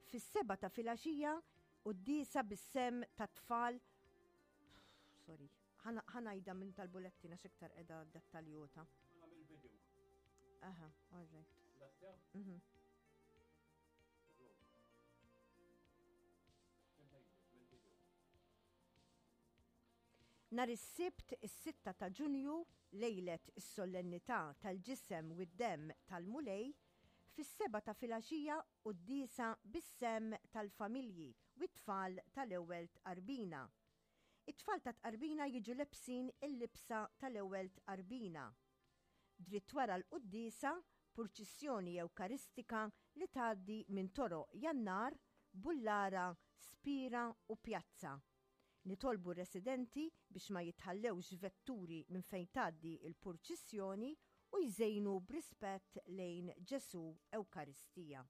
Fis-sebgħa ta' filgħaxija, quddiesa bis-sehem tat-tfal Sorry, ħa ngħidha minn tal-bulettin għax iktar qiegħda dettaljota. Aha, all right. Mhm. Nhar is-Sibt is-sitta ta' Ġunju, lejlet is-Solennità tal-Ġisem u d-Demm tal-Mulej, fis-sebgħa ta' filgħaxija quddiesa bis-sehem tal-familji u t-tfal tal-Ewwel Tqarbina. It-tfal tat-Tqarbina jiġu lebsin il-libsa tal-Ewwel Tqarbina. Dritt wara l-quddiesa, purċissjoni Ewkaristika li tgħaddi minn toroq Jannar, Bullara, Spira u Pjazza. Nitolbu r-residenti biex ma jitħallewx vetturi minn fejn tgħaddi l-purċissjoni u jżejnu b'rispett lejn Ġesù Ewkaristija.